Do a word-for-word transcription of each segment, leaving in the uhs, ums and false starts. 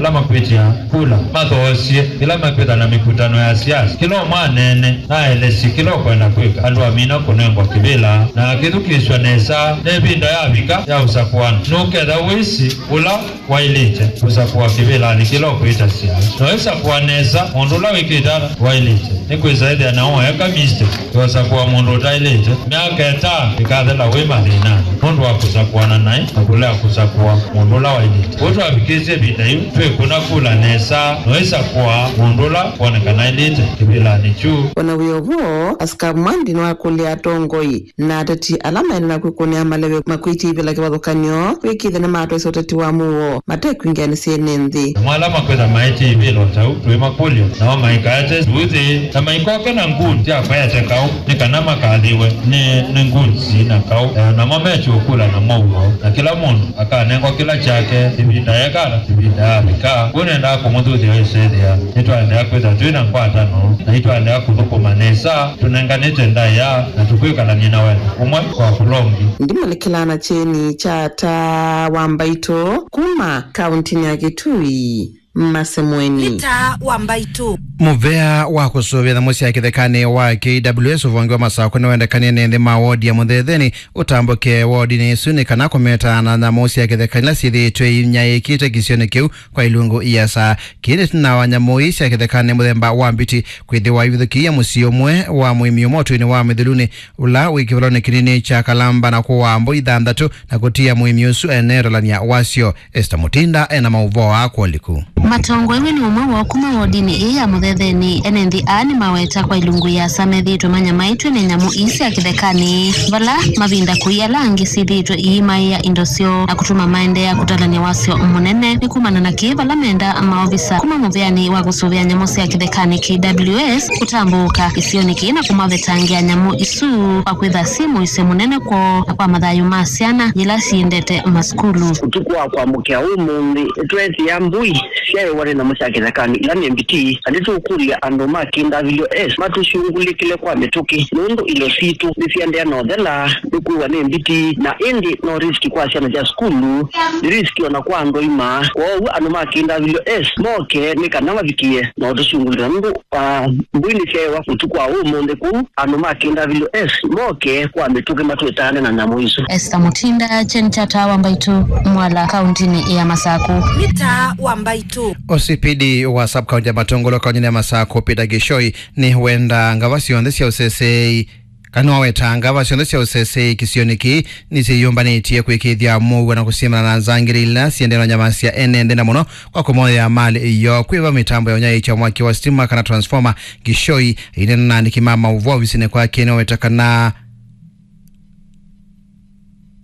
Ala makwĩtya kula mathoosye ĩla mekwĩtha na mĩkutano ya siasa. Kĩla ũmwe aneene na aelesye kĩla ũkwenda kwĩka. Andũ amina kũnengwa kĩvĩla na akĩthukĩĩsw'a nesa. Nĩ ĩvinda yavika ya ũsakũani. Nũketha wĩsĩ ũla waĩlĩte kũsakũa kĩvĩlanĩ kĩla ũkwĩtasya. Na waisakũa nesa mũndũ ũla wĩkĩte ata waĩlĩte, nĩkwĩsa ethĩa na woeka mistake ya ũsakũa mũndũ ũtaĩlĩte. Myaka ĩtano ĩkathela wĩ mathĩnanĩ nũndũ wa kũsakũana naĩ na kũlea kũsakũa mũndũ ũla waĩlĩte. Kwoou twavikĩĩsye ĩvinda yĩu twĩkũna kula nesa na waisakũa mũndũ ũla wonekana aĩlĩte kĩvĩlanĩ kyu. O na wĩ o vo, Askavu Mwandi nĩwakũlya atongoi na ateti ala maendee na kwĩkũnĩa maleve makwĩtya ivĩla kĩvathũkany'o kwĩkĩĩthya nĩmatwaĩsya ũteti wa mũuo mate kwingĩanĩsya ene nthĩ. Namo ala makwĩtha maĩtye ivĩla o ta ũu, twĩmakũlya, nao maikaete nduuthĩ, na maikoke na ngun sya kwaete kaũ, nĩ kana makathĩwe nĩ, nĩ ngun syĩ na kaũ. Eh, namo mekye ũkũla na mũuo, na kĩla mũndũ akanengwa kĩla kyake, ĩvinda yekala, ĩvinda yavika. Kwoou nendaa kũmũthuthya wĩsethĩa nĩtwaendeea kwĩtha twĩ na ngwatano, na nĩtwaendeea kũthũkũma nesa tũnenganĩte ndaĩa, na tũkwĩkalany'a na wendo ũmwe kwa kũla ũngĩ. Ndimũlikĩlaa na kyeni kya Taa wa Mbaitũ kuma kauntinĩ ya Kitui, Masemweni. Nĩ Taa wa Mbaitũ. Mũvea wa kũsũvĩa nyamũ sya kĩthekanĩ wa K W S ũvonge wa Masakũ nĩwendekanie nĩ nthĩ ma wodi ya Mũthetheni ũtambũke wodinĩ ĩsu nĩ kana kũmeta na nyamũ sya kĩthekanĩ ila syĩthĩĩtwe inyaĩĩkĩte kĩsionĩ kĩu kwa ilungu iasa. Kĩĩ nĩ ĩtina wa nyamũ ii sya kĩthekanĩ mũthemba wa mbiti kwĩthĩwa ivithũkĩie mũsyĩ ũmwe wa mũĩmi ũmwe ũtũinĩ wa Mĩthulunĩ, ũla wĩ kĩvalonĩ kĩnini kya Kalamba na kũaa mbũi thanthatũ na kũtia mũĩmi ũsu ene ũtalany'a wasyo. Esther Mutinda ena maũvoo aa kwa ũliku. Matongoew'e nĩ ũmwe woo kuma wodinĩ ĩĩ ya Mũthetheni, ene nthĩ aa nĩmaweta kwa ilungu iasa methĩĩtwe manyamaĩtw'e nĩ nyamũ ii sya kĩthekanĩ, vala mavinda kũi ala angĩ syĩthĩĩtwe iimaĩa indo syoo na kũtuma maendeea kũtalany'a wasyo mũnene. Nĩ kumana na kĩĩ, vala menda maovisa kuma mũvĩanĩ wa kũsũvĩa nyamũ sya kĩthekanĩ K W S kũtambũũka kĩsionĩ kĩĩ na kũmavetangĩa nyamũ isu kwa kwĩtha syĩ mũisyo mũnene kwoo na kwa mathayũ ma syana yĩla syĩendete masukulu. Ũtukũ wa kwamũkĩa ũmũnthĩ, nĩtweethĩa mbũi syaĩwa nĩ nyamũ sya kĩthekanĩ ila nĩ mbiti, na nĩtũkũlya andũ ma K W S matũsyũngũlĩkĩle kwa mĩtũkĩ, nũndũ indo sitũ nĩsiendeea na ũthela nĩkwĩwa nĩ mbiti, na ĩndĩ no risk kwa syana sya sukulu, nĩ risk o na kwa andũ aima. Kwoou andũ ma K W S moke nĩ kana mavikĩe na ũtũsyũngũlĩla, nũndũ, ah, mbũi nĩsyaĩwa ũtukũ wa ũmũnthĩ kũu. Andũ ma K W S moke kwa mĩtũkĩ matwĩtane na nyamũ isu. Esther Mutinda, kyeni kya Taa wa Mbaitũ, Mwala, kauntinĩ ya Masakũ. Nĩ Taa wa Mbaitũ. O C P D wa sub-county ya Matũngũlũ kauntinĩ ya Masakũ, Peter Gĩchoi, nĩwenda ngava syonthe sya ũseseei, kana nĩwaweta ngava syonthe sya ũseseei kĩsionĩ kĩĩ nĩsyĩyũmbanĩtye kwĩkĩĩthya mũuo na kũsyĩmana na nzangĩlĩ ila syĩendee na ũnyamasya ene nthĩ, na mũno kwa kũmoya malĩ yoo. Kwĩva mĩtambo ya ũnyaĩĩkya mwaki wa sitima kana transformer, Gĩchoi aineena na aandĩki ma maũvoo ovisinĩ kwake nĩwaweta kana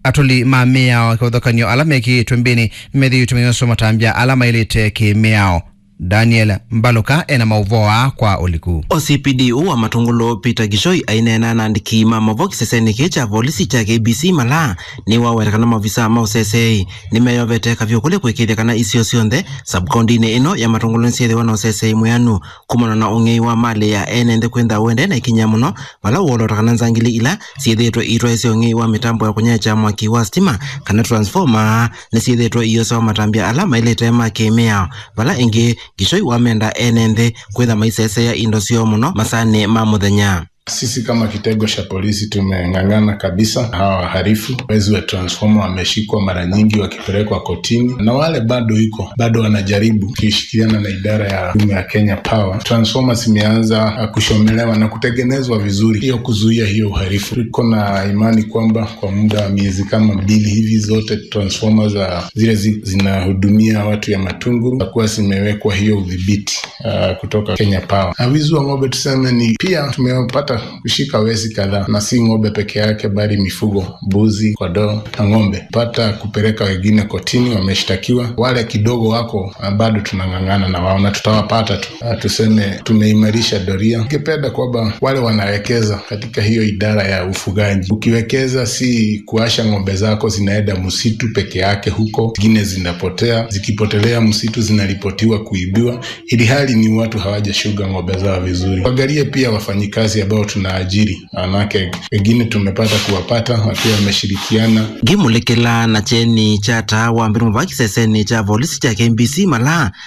atũli ma mĩao kĩvathũkany'o ala mekĩĩtwe mbĩnĩ nĩmethĩĩtwe manyoswa matambya ala maĩlĩte kĩ-mĩao. Daniel Mbalũka ena maũvoo aa kwa ũliku. O C P D ũũ wa Matũngũlũ, Peter Gĩchoi, aineena na aandĩki ma maũvoo kĩsesenĩ kĩĩ kya volisi kya K B C Malaa, nĩwaweta kana maovisa ma ũseseei nĩmeyovete kavyũ kũlĩ kwĩkĩĩthya kana isio syonthe sub-kauntinĩ ĩno ya Matũngũlũ nĩsyĩthĩwa na ũseseei mwĩanu kumana na ũng'ei wa malĩ ya ene nthĩ kwĩntha ũendee na ikinya mũno, vala ũolota kana nzangili ila syĩthĩĩtwe iitwaĩsya ũng'ei wa mĩtambo ya kũnyaĩĩkya mwaki wa sitima kana transformer nĩsyĩthĩĩtwe iyosewa matambya ala maĩlĩte ma kĩ-mĩao, vala ĩngĩ Gĩchoi wamenda ene nthĩ kwĩtha maiseseea indo syoo mũno masaanĩ ma mũthenya. Sisi kama kitengo cha polisi tumeng'ang'ana kabisa. Hawa wahalifu, wezi wa transformer wameshikwa mara nyingi wakipelekwa kotini, na wale bado iko, bado wanajaribu, wakishirikiana na idara ya huduma ya Kenya Power. Transformer zimeanza, ah, kushomelewa na kutengenezwa vizuri, hiyo kuzuia hiyo uhalifu. Tuko na imani kwamba kwa muda wa miezi kama mbili hivi, zote transformer za zile zi-, zinahudumia watu ya Matungulu zitakuwa zimewekwa hiyo udhibiti, ah, kutoka Kenya Power. Na wizi wa ng'ombe tuseme ni pia tumepata kushika wezi kadhaa, na si ng'ombe peke yake, bali mifugo, mbuzi, kondoo na ng'ombe. Pata kupeleka wengine kotini, wameshtakiwa. Wale kidogo wako, ah, bado tunang'ang'ana na wao na tutawapata tu. Ah, tuseme tumeimarisha doria. Ningependa kwamba wale wanawekeza katika hiyo idara ya ufugaji, ukiwekeza si kuasha ng'ombe zako zinaenda msitu peke yake huko, zingine zinapotea, zikipotelea msitu zinaripotiwa kuibiwa, ili hali ni watu hawajashuga ng'ombe zao vizuri. Waangalie pia wafanyikazi ambao tunaajiri, manake wengine tumepata kuwapata wakiwa wameshirikiana. Ngĩmũlĩkĩla na kyeni kya Taa wa Mbaitũ mũvaka kĩsesenĩ kya volisi kya K B C Malaa,